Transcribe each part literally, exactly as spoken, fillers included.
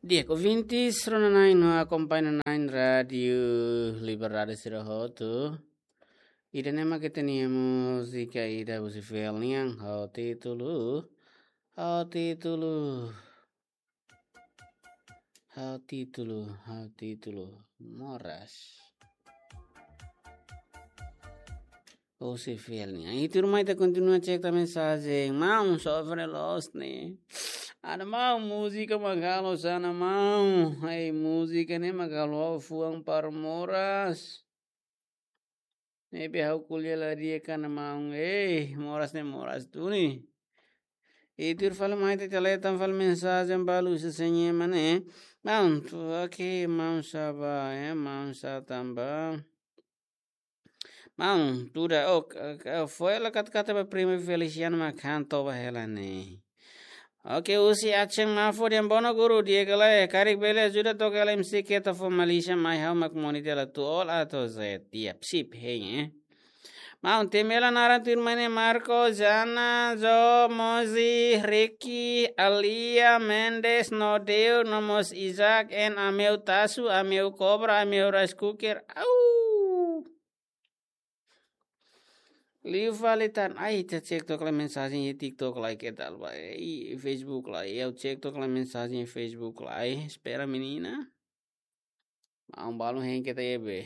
Di'ak, ouvintes rona-na'in no akompaña na'in Rádiu Liberdade sira hotu. Ida-ne'e mak ita-nia múzika ida husi Fiel nian, ho títulu, ho títulu, ho títulu, ho títulu Moras. Husi Fiel nian. I tuirmai ita kontinua cek tan mensajen. Maun, sofre loos ne'e. Ada maun, múzika mak halo hanesan ne'e maun. Ai, múzika ne'e mak halo fuan para moras. Ne'ebé ha'u ko'alia la di'ak ona maun. Ei, moras ne'e moras duni. I tuir fali mai ita leta fali mensajen balu husi Señema ne'e. Maun, tu, oke, maun sá ba, eh, maun sá tan ba. Maun, tuda, ok, ok, foin hela katak-katak ba prima Feliciano mak han toba hela ne'e. Oke, husi Aceh Mafo dehan bono guru, di'ak ka lae, karik bele ajuda toka hela M C Keta fó malísia mai ha'u mak monitor hela tuir A to Z. Di'ak, sip, hein, eh. Maun, temi hela naran tuirmai ne'e Marco, Jana, Jo, Mozi, Ricky, Alia, Mendes, Nodeu, no mós Isaac, en Ameu Tasu, Ameu Cobra, Ameu Rice Cooker. Au! Liu fali tan, ai, ita cek took lai mensajen iha TikTok lai, ke tal ba, i Facebook lai, ha'u cek took lai mensajen iha Facebook lai, espera menina. Maun balu hein keta iha be.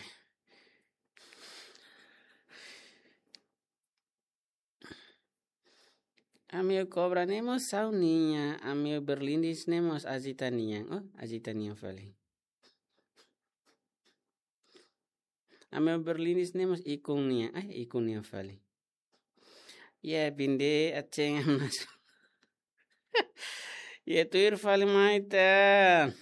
Ameu Cobra ne'e mós sa'u nian, Ameu Berlindis ne'e mós ajita nian, oh, ajita nian fali. Ameu Berlindis ne'e mós ikun nian, ai, ikun nian fali. Ya, binde aceng amas. Ya, tuir fali mai tan.